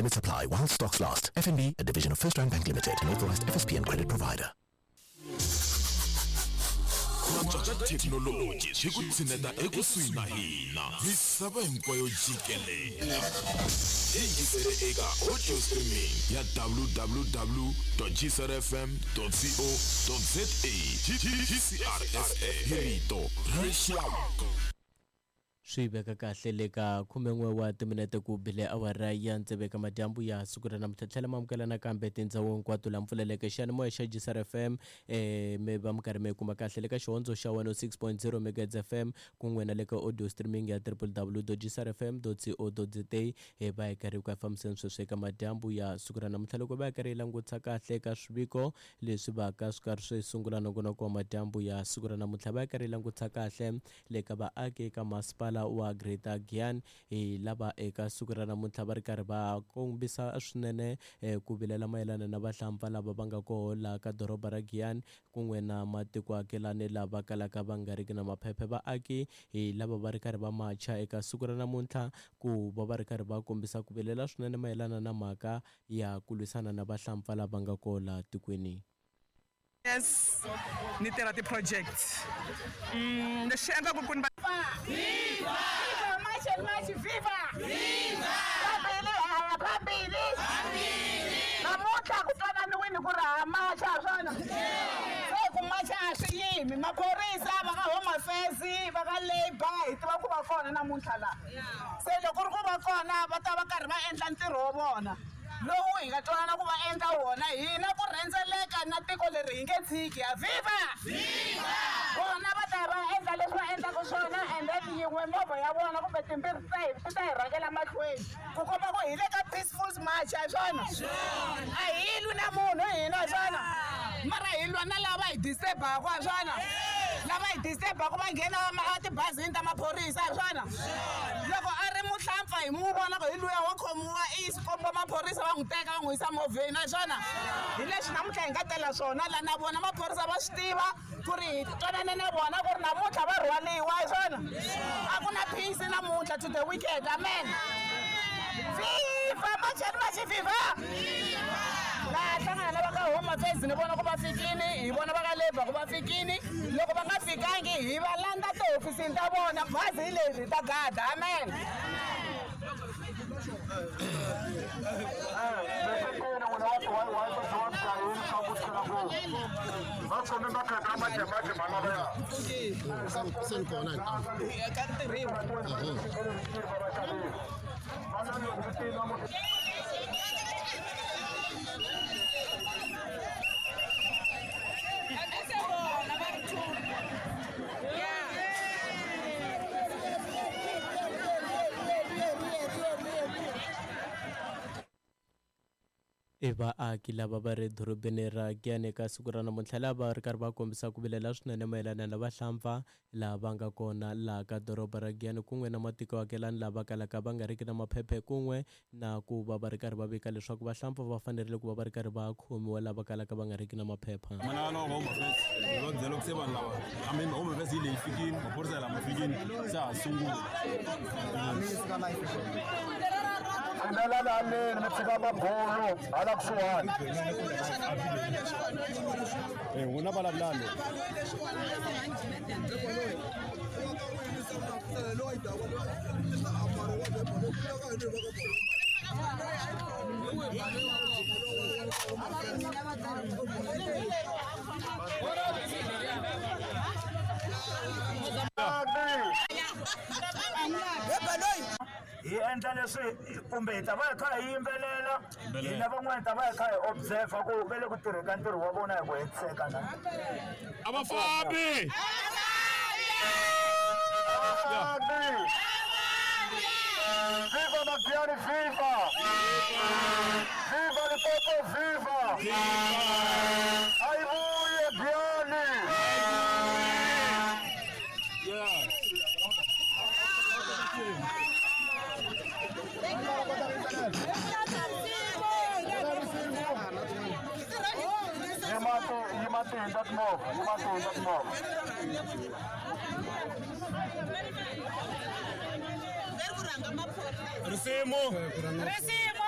Limits apply while stocks last. FNB, a division of FirstRand Bank Limited, an authorized FSP and credit provider. Ku antswa ka thekinoloji swi ku tshineta ekusuhi na hina misava hinkwayo jikelele. Yingisele eka audio streaming ya www.gcrfm.co.za. GCRSA hi rito ra rixaka. Swi veka kahle le ka khumen'we wa timinete ku bile awara ya tsevu eka madyambu ya siku ra namuntlha. Tlhela mi amukela nakambe tindhawu hinkwato laha mpfuleleke xiyanimoya xa GCR FM, mi va mi karhi mi kuma kahle le ka xihondzo xa 106.0 megahertz FM kun'we na le ka audio streaming ya www.gcrfm.co.za. Hi va hi karhi ku ya fambiseni sweswi eka madyambu ya siku ra namuntlha, loko va hi karhi hi langutisa kahle eka swiviko leswi va ka swi karhi swi sungula nongonoko wa madyambu ya siku ra namuntlha. Va hi karhi hi langutisa kahle le ka vaaki eka masipala wa Greater Giyani, hi lava eka siku ra namuntlha va ri karhi va kombisa swinene ku vilela mayelana na vahlampfa lava va nga koho laha ka doroba ra Giyani kun'we na matiko akelani lava kalaka va nga riki na maphephe. Vaaki hi lava va ri karhi va macha eka siku ra namuntlha ku va va ri karhi va kombisa ku vilela swinene mayelana na mhaka ya ku lwisana na vahlampfa lava nga koho laha tikweni. Yes, ni tirha ti-project. Lexi endlaku ku ni va Viva! Viva March and March, viva! Viva! Phambili, haya phambili! Phambili! Namuntlha ku twananiwini ku ri ha macha swona. Se ku macha a swi yimi, maphorisa va ka Home Affairs, va ka Labour, hi tiva ku va kona namuntlha laha. Se loko ku ri ku va kona va ta va karhi va endla ntirho wa vona lowu hi nga twanana ku va endla wona, hina ku rhendzeleka na tiko leri hi nge tshiki. A viva! Viva! Vona va ta va endla leswi va endlaka swona, and then yin'we movha ya vona kumbe timbirhi ti ta hi rhangela mahlweni ku komba ku hi le ka peaceful march, a hi swona? A hi lwi na munhu hina, a hi swona? Mara hi lwa na lava hi disturbaka, a hi swona? Lava hi disturbaka va nghena etibazini ta maphorisa, a hi swona? Loko a ri muhlampfa hi mu vona ku hi luya wa khomiwa i komba maphorisa va n'wi teka va n'wi yisa movheni, a hi swona? Hi leswi namuntlha hi nga tela swona la, na vona maphorisa va swi tiva ku ri hi twanane na vona ku ri namuntlha va rhwaliwa, a hi swona? A ku na peace namuntlha to the wicked, amen. Viva March and March, viva! Laha hlangana na va ka Home Affairs ni vona ku va fikini, hi vona va ka Labour ku va fikini. Loko va nga fikangi hi va landza tihofisini ta vona, bazi hi leri ta gada, amen. I vaaki lava va ri dorobeni ra Giyani eka siku ra namuntlha lava ri karhi va kombisa ku vilela swinene mayelana na vahlampfa lava va nga kona laha ka doroba ra Giyani kun'we na matiko akelani lava kalaka va nga riki na maphephe, kun'we na ku va va ri karhi va vika leswaku vahlampfa va fanerile ku va va ri karhi va khomiwa lava kalaka va nga riki na maphepha. Mana wa Home Affairs hi va byela ku se vanhu lava, I mean Home Affairs yi leyi fikini, maphorisa lama fikini se ha sungula. Pfumelani haleni mi tshika mabulu hala kusuhani. N'wina vulavulani. Hi endla leswi kumbe hi ta va hi kha hi yimbelela, hina van'wana hi ta va hi kha hi observe ku va le ku tirheni ka ntirho wa vona hi ku hetiseka na. A va fambi! A va fambi! Viva Magiyani, viva! Viva Limpopo, viva! Ayivuye Giyani! Risimu. Risimu.